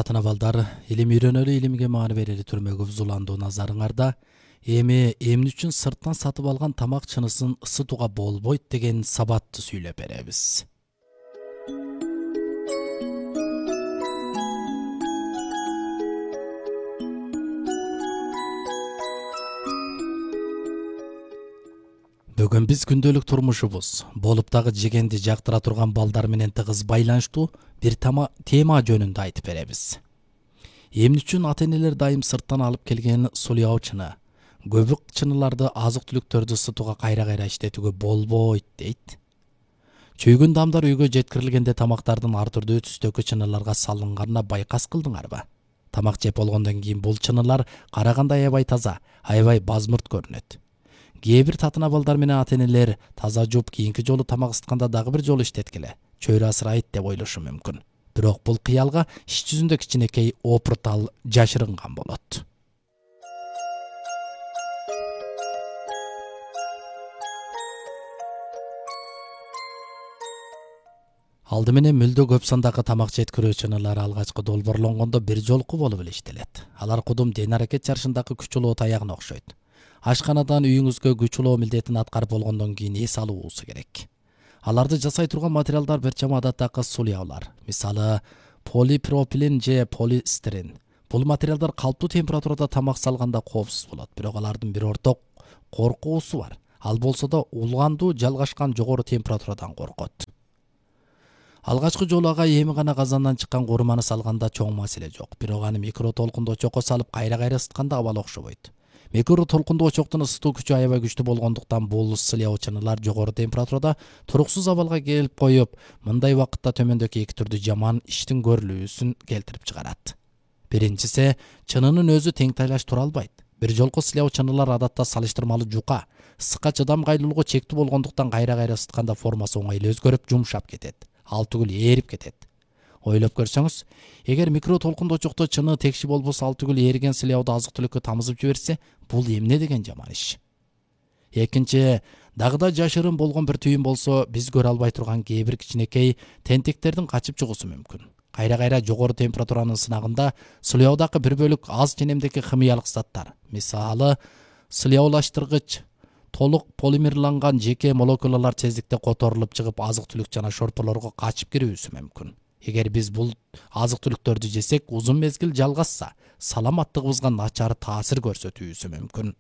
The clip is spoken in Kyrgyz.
татына балдар, илим үйрөнөлү, илимге маани берели түрмөгө бузуландуу назарыңарда. Эми эмне үчүн сырттан сатып алган тамак чынысын ысытууга болбойт деген сабатты сүйлөп беребиз. Бүгүн биз күндөлүк турмушубуз, болуп дагы жегенди жактыра турган балдар менен тыгыз байланыштуу бир тема жөнүндө айтып беребиз. Эмне үчүн ата-энелер дайым сырттан алып келген сулуу чыны, көбүк чыныларды азык-түлүктөрдү ысытууга кайра иштетүүгө болбойт дейт. Чүйгүн дамдар үйгө жеткирилгенде тамактардын ар түрдүү түстөгү чыныларга салынганына байкас кылдыңарбы? Тамак жеп болгондон кийин бул чынылар караганда аябай таза, аябай базмырт көрүнөт. Кээ бир татына балдар менен ата-энелер таза жууп кийинки жолу тамак ысытканда дагы бир жолу иштеткиле, чөйрө асырайт деп ойлошу мүмкүн. Бирок бул кыялга иш жүзүндө кичинекей опуртал жашырынган болот. Алды менен мүлдө көп сандагы тамак жеткирүү чынылары алгачкы долбоорлонгондо бир жолку болуп эле иштелет. Алар кудум ден-аракет жарышындагы күч улоо таягына окшойт. Ашканадан үйүңүзгө күч улоо милдетин аткарып болгондон кийин эс алуусу керек. Аларды жасай турган материалдар бир чама адаттагы сулуулар, мисалы полипропилен же полистирен. Бул материалдар калптуу температурада тамак салганда коопсуз болот, бирок алардын бир орток коркуусу бар. Ал болсо да улгандуу жалгашкан жогору температурадан коркот. Алгачкы жолу ага эми гана казандан чыккан курманы салганда чоң маселе жок, бирок аны микро толкундуу очокко салып кайра ысытканда абал окшобойт. Микро толкундуу очоктун ысытуу күчү аябай күчтүү болгондуктан бул сылуу чынылар жогору температурада туруксуз абалга келип коюп, мындай убакытта төмөндөгү эки түрдүү жаман иштин көрүлүүсүн келтирип чыгарат. Биринчиси, чынынын өзү тең тайлаш тура албайт. Бир жолку сылуу чынылар адатта салыштырмалуу жука, ысыкка чыдамкайлуулугу чектүү болгондуктан кайра ысытканда формасы оңой эле өзгөрүп, жумшап кетет. Ал түгүл ээрип кетет. Ойлоп көрсөңүз, эгер микро толкундуу очокто чыны текши болбосо, ал түгүл ээриген сылууду азык-түлүккө тамызып жиберсе, бул эмне деген жаман иш. Экинчи, дагы да жашырын болгон бир түйүн болсо, биз көрө албай турган кээ бир кичинекей тентектердин качып чыгуусу мүмкүн. Кайра жогору температуранын сынагында сылуудагы бир бөлүк аз ченемдеги химиялык заттар, мисалы сылуулаштыргыч, толук полимерланган жеке молекулалар тездикте которулуп чыгып, азык-түлүк жана шорполорго качып кирүүсү мүмкүн. Эгер биз бул азык-түлүктөрдү жесек, узун мезгил жалгасса, саламаттыгыбызга начар таасир көрсөтүүсү мүмкүн.